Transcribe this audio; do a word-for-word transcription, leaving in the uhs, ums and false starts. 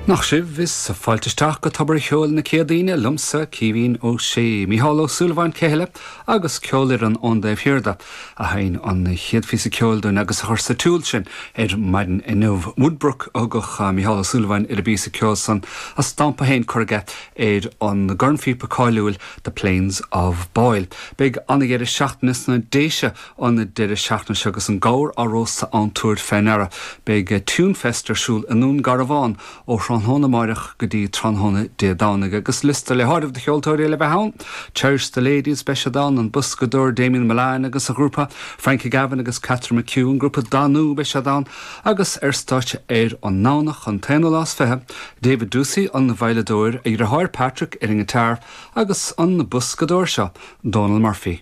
Nach sibh is fáilte isteach go Tobar an Cheoil na Céadaoine liomsa Caoimhín Ó Sé, Mícheál Ó Súilleabháin Ceile agus ceolfhoireann ón dtaobh thiar de a sheinn an chéad phíosa ceoil dúinn agus a chuir sa tsiúl sinn ar maidin inniu. Woodbrook a thugadh Mícheál Ó Súilleabháin ar an bpíosa ceoil san a stampa féin curtha aige ar an gcornphíopa cáiliúil The Plains of Boyle. Beidh an-deireadh seachtaine sna Déise an deireadh seachtaine seo agus an gabhar á róstadh ann tabhair faoi ndeara. Beidh Tunefest ar siúl i nDún Garbhán ó tráthnóna amárach go dtí tráthnóna Dé Domhnaigh agus liosta le háireamh de cheoltóirí le bheith ann. Cherish the Ladies beidh siad ann an boscadóir Damien Milan agus a ghrúpa Frankie Gavin agus Catherine McHugh an grúpa Danú beidh siad ann agus ar stáitse ar an nDomhnach an t-aonú lá is fiche, David Ducey an veidhleadóir a dheartháir Patrick ar an ngiotár agus an boscadóir seo Donal Murphy.